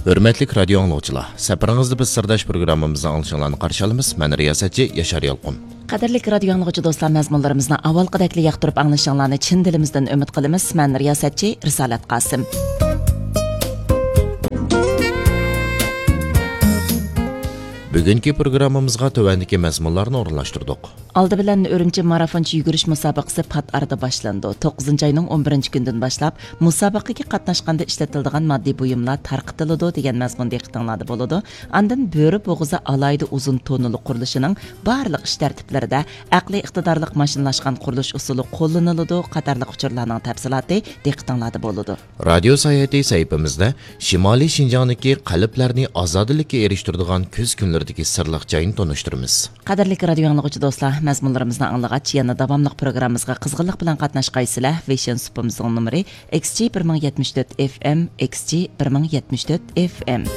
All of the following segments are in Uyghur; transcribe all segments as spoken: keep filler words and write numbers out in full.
ھۆرمەتلىك رادىيو ئاڭلىغۇچىلار، سەپىرىڭىزدە بىز سىرداش پروگراممىمىزنىڭ ئاڭلىشىڭلارنى قارشى ئالىمىز. مەن رىياسەتچى ياشار يالقۇن. قەدىرلىك رادىيو ئاڭلىغۇچى دوستلار، مەزمۇنلىرىمىزنى ئاۋۋالقىدەكلا ياقتۇرۇپ ئاڭلىشىڭلارنى چىن دىلىمىزدىن ئۈمىد قىلىمىز. مەن رىياسەتچى رىسالەت قاسىم. بۈگۈنكى پروگراممىمىزغا تۆۋەندىكى مەزمۇنلارنى ئورۇنلاشتۇردۇق. ئالدى بىلەن ئۈرۈمچى مارافونچە يۈگۈرۈش مۇسابىقىسى پات ئارىدا باشلىنىدۇ. توققۇزىنچى ئاينىڭ ئون بىرىنچى كۈنىدىن باشلاپ مۇسابىقىگە قاتناشقاندا ئىشلىتىلىدىغان ماددىي بۇيۇملار تارقىتىلىدۇ دېگەن مەزمۇن دىققىتىڭلاردا بولىدۇ. ئاندىن بۆرە بوغۇزى ئالاھىدە ئۇزۇن توننىلىق قۇرۇلۇشىنىڭ بارلىق ئىش تەرتىپلىرىدە ئەقلىي ئىقتىدارلىق ماشىنىلاشقان قۇرۇلۇش ئۇسۇلى قوللىنىلىدۇ قاتارلىق ئۇچۇرلارنىڭ تەپسىلاتى دىققىتىڭلاردا بولىدۇ. رادىيو ساياھىتى سەھىپىمىزدە شىمالىي شىنجاڭدىكى قەلبلەرنى ئازادىلىككە ئېرىشتۈرىدىغان كۈز كۈنلىرىدىكى سىرلىق جاينى تونۇشتۇرىمىز. قەدىرلىك رادىيو ئاڭلىغۇچى دوستلار، مەزمۇنلىرىمىزنى ئاڭلىغاچ، يەنە داۋاملىق پروگراممىمىزغا قىزغىنلىق بىلەن قاتناشقايسىلەر. ۋېيشىن سۇپىمىزنىڭ نومۇرى ئىكس جى بىر مىڭ يەتمىش تۆت ئېف ئېم، ئىكس جى بىر مىڭ يەتمىش تۆت ئېف ئېم.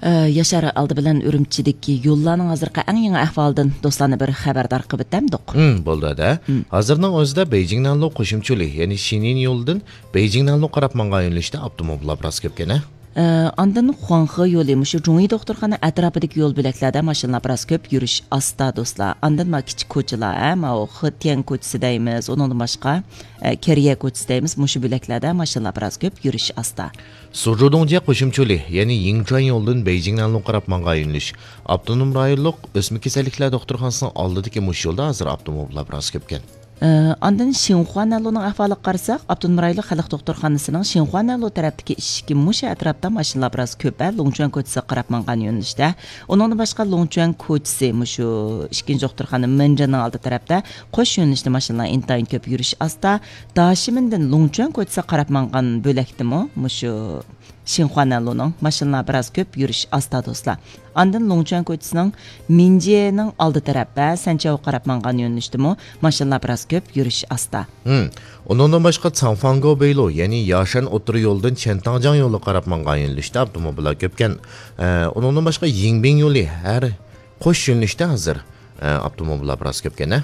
ئە، ياشار، ئالدى بىلەن ئۈرۈمچىدىكى يوللارنىڭ ھازىرقى ئەڭ يېڭى ئەھۋالىدىن دوستلارنى بىر خەۋەردار قىلىۋېتەمدۇق؟ ھىم، بولدى ھەدە. ھازىرنىڭ ئۆزىدە بېيجىڭ نەنلۇ قوشۇمچە يولى، يەنى شىنيىن يولىدىن بېيجىڭ نەنلۇ قاراپ ماڭغان يۆنىلىشتە ئاپتوموبىللار بىراز كۆپكەن ھە؟ ئە، ئاندىن خۇاڭخې يولى، مۇشۇ جۇڭيى دوختۇرخانا ئەتراپىدىكى يول بۆلەكلەردە ماشىنىلار بىراز كۆپ، يۈرۈش ئاستا دوستلار. ئاندىن ما كىچىك كوچىلار، ھە، ماۋۇ خېتيەن كوچىسى دەيمىز، ئۇنىڭدىن باشقا، ئە، كېرىيە كوچىسى دەيمىز، مۇشۇ بۆلەكلەردە ماشىنىلار بىراز كۆپ، يۈرۈش ئاستا. سۇجۇدۇڭجيې قوشۇمچە يولى، يەنى يىڭچۈەن يولىدىن بېيجىڭ نەنلۇ قاراپ ماڭغان يۆنىلىش، ئاپتونوم رايونلۇق ئۆسمە كېسەللىكلەر دوختۇرخانىسىنىڭ ئالدىدىكى مۇشۇ يولدا ھازىر ئاپتوموبىللار بىراز كۆپكەن. ئە، ئاندىن شىنخۇا نەنلۇنىڭ ئەھۋالىغا قارىساق، ئاپتونوم رايونلۇق خەلق دوختۇرخانىسىنىڭ شىنخۇا نەنلۇ تەرەپتىكى ئىشىكى مۇشۇ ئەتراپتا ماشىنىلار بىراز كۆپ، ھە، لۇڭچۈەن كوچىسىغا قاراپ ماڭغان يۆنىلىشتە. ئۇنىڭدىن باشقا، لۇڭچۈەن كوچىسى مۇشۇ ئىككىنچى دوختۇرخانا مېنجىنىڭ ئالدى تەرەپتە قوش يۆنىلىشتە ماشىنىلار ئىنتايىن كۆپ، يۈرۈش ئاستا. داشىمىندىن لۇڭچۈەن كوچىسىغا قاراپ ماڭغان بۆلەكتىمۇ مۇشۇ شىنخۇا نەنلۇنىڭ ماشىنىلار بىراز كۆپ، يۈرۈش ئاستا دوستلار. ئاندىن لۇڭچۈەن كوچىسىنىڭ مىنجيېنىڭ ئالدى تەرەپ ۋە سەنچياۋغا قاراپ ماڭغان يۆنىلىشتىمۇ ماشىنىلار بىراز كۆپ، يۈرۈش ئاستا. ھىم. ئۇنىڭدىن باشقا، چاڭفاڭگو بېيلۇ، يەنى ياشەن ئوتتۇرا يولىدىن چيەنتاڭجياڭ يولىغا قاراپ ماڭغان يۆنىلىشتە ئاپتوموبىللار كۆپكەن. ئە، ئۇنىڭدىن باشقا، يىڭبىڭ يولى ھەر قوش يۆنىلىشتە ھازىر، ئە، ئاپتوموبىللار بىراز كۆپكەن ھە؟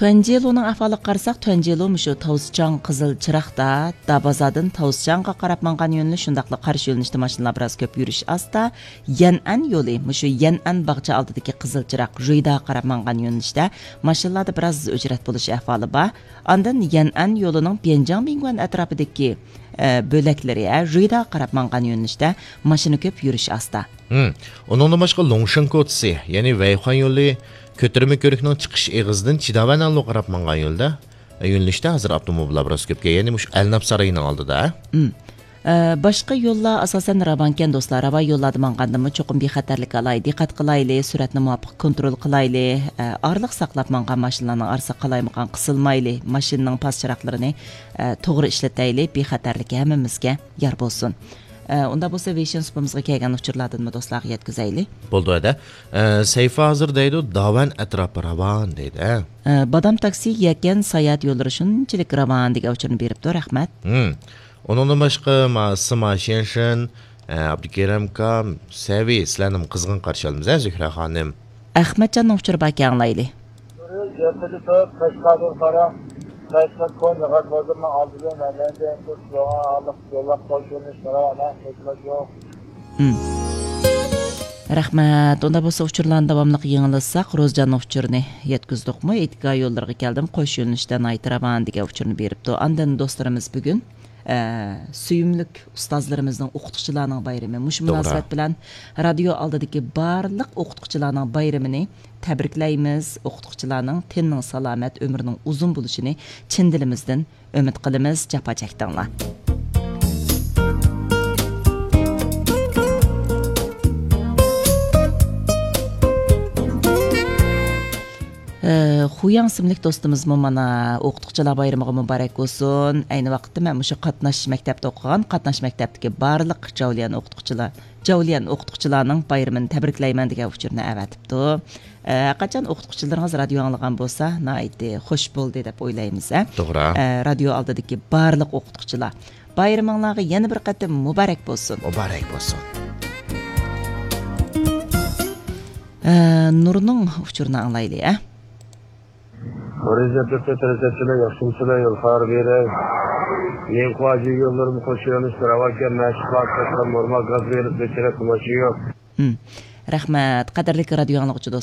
تۇەنجيېلۇنىڭ ئەھۋالىغا قارىساق، تۇەنجيېلۇ مۇشۇ تاۋزچاڭ قىزىل چىراغدا، دابازادىن تاۋزچاڭغا قاراپ ماڭغان يۆنىلىش، شۇنداقلا قارشى يۆنىلىشتە ماشىنىلار بىراز كۆپ، يۈرۈش ئاستا. يەنئەن يولى، مۇشۇ يەنئەن باغچە ئالدىدىكى قىزىل چىراغ، رۇيداغا قاراپ ماڭغان يۆنىلىشتە ماشىنىلاردا بىراز ئۆچرەت بولۇش ئەھۋالى بار. ئاندىن يەنئەن يولىنىڭ بيەنجاڭ مىڭگۈەن ئەتراپىدىكى، ئە، بۆلەكلىرى، ھە، رۇيداغا قاراپ ماڭغان يۆنىلىشتە ماشىنا كۆپ، يۈرۈش ئاستا. ھىم. ئۇنىڭدىن باشقا، لۇڭشېن كوچىسى، يەنى ۋەيخۇەن يولى كۆتۈرمە كۆۋرۈكنىڭ چىقىش ئېغىزىدىن چىداۋەن نەنلۇغا قاراپ ماڭغان يولدا، يۆنىلىشتە ھازىر ئاپتوموبىللار بىراز كۆپكەن، يەنى مۇشۇ ئەلناپ سارىيىنىڭ ئالدىدا. ھىم. ئە، باشقا يوللار ئاساسەن راۋانكەن دوستلار، راۋان يوللاردا ماڭغاندىمۇ چوقۇم بىخەتەرلىك ئالاي، دىققەت قىلايلى، سۈرئەتنى مۇۋاپىق كونترول قىلايلى، ئە، ئارىلىق ساقلاپ ماڭغان ماشىنىلارنىڭ ئارىسىغا قالايمىقان قىسىلمايلى، ماشىنىنىڭ پاس چىراغلىرىنى، ئە، توغرا ئىشلىتەيلى، بىخەتەرلىكى ھەممىمىزگە يار بولسۇن. ئە، ئۇنداق بولسا، ۋېيشىن سۇپىمىزغا كەلگەن ئۇچۇرلاردىنمۇ دوستلارغا يەتكۈزەيلى. بولدى ھەدە. ئە، سەيفا ھازىر دەيدۇ، داۋەن ئەتراپى راۋان دەيدۇ، ھە؟ ئە، بادام تاكسى، يەكەن ساياھەت يوللىرى شۇنچىلىك راۋان دېگەن ئۇچۇرنى بېرىپتۇ، رەھمەت. ھىم. ئۇنىڭدىن باشقا، ما، سىما شيەنشىن، ئە، ئابدۇكېرىم ئاكا، سەۋى، سىلەرنىمۇ قىزغىن قارشى ئالىمىز، ھە، زۆھرە خانىم؟ ئەخمەتجاننىڭ ئۇچۇرى باركەن، ئاڭلايلى. يېقىندا تۇرۇپ، قەشقەردىن قارا، قەشقەر كونا غەزۋازىرنىڭ ئالدىدىن مەدەنىيەت يولغا ئاللىق يوللاپ قوشۇلۇش قارا، ئەمەس، قوشۇلۇش يوق. ھىم. رەھمەت. ئۇندا بولسا ئۇچۇرلارنى داۋاملىق يېڭىلىساق، روزجاننىڭ ئۇچۇرىنى يەتكۈزدۇقمۇ؟ ئېيتكا يوللىرىغا كەلدىم، قوش يۆنىلىشتە ناھايىتى راۋان دېگەن ئۇچۇرنى بېرىپتۇ. ئاندىن دوستلىرىمىز بۈگۈن، ئە، سۆيۈملۈك ئۇستازلىرىمىزنىڭ، ئوقۇتقۇچىلارنىڭ بايرىمى. مۇشۇ توغرا. مۇناسىۋەت بىلەن رادىيو ئالدىدىكى بارلىق ئوقۇتقۇچىلارنىڭ بايرىمىنى تەبرىكلەيمىز. ئوقۇتقۇچىلارنىڭ تېنىنىڭ سالامەت، ئۆمرىنىڭ ئۇزۇن بولۇشىنى چىن دىلىمىزدىن ئۈمىد قىلىمىز، جاپا چەكتىڭلار. ئە، خۇياڭ ئىسىملىك دوستىمىزمۇ مانا ئوقۇتقۇچىلار بايرىمىغا مۇبارەك بولسۇن. ئەينى ۋاقىتتا مەن مۇشۇ قاتناش مەكتەپتە ئوقۇغان، قاتناش مەكتەپتىكى بارلىق جاۋلىيان ئوقۇتقۇچىلار، جاۋلىيان ئوقۇتقۇچىلارنىڭ بايرىمىنى تەبرىكلەيمەن دېگەن ئۇچۇرنى ئەۋەتىپتۇ. ئە، ھەرقاچان ئوقۇتقۇچىلىرىڭىز رادىيو ئاڭلىغان بولسا، ناھايىتى خوش بولدى دەپ ئويلايمىز، ھە؟ توغرا. ئە، رادىيو ئالدىدىكى بارلىق ئوقۇتقۇچىلار، بايرىمىڭلارغا يەنە بىر قېتىم مۇبارەك بولسۇن. مۇبارەك بولسۇن. ئە، نۇرنىڭ ئۇچۇرىنى ئاڭلايلى، ئە. رىزىق تۆتتە تىرىزەتچىلەر ياخشىمسىلەر، يول خار بېرەي. مېنىڭ قۇۋاجى يوللىرىم قوشۇۋېلىش راۋاكەن، مەشۇق قىلىپ نورمال گاز بېرىپ بېچىرە قىلماشى يوق. ھىم. رەھمەت، قەدىرلىك رادىيو ئاڭلىغۇچى دوست.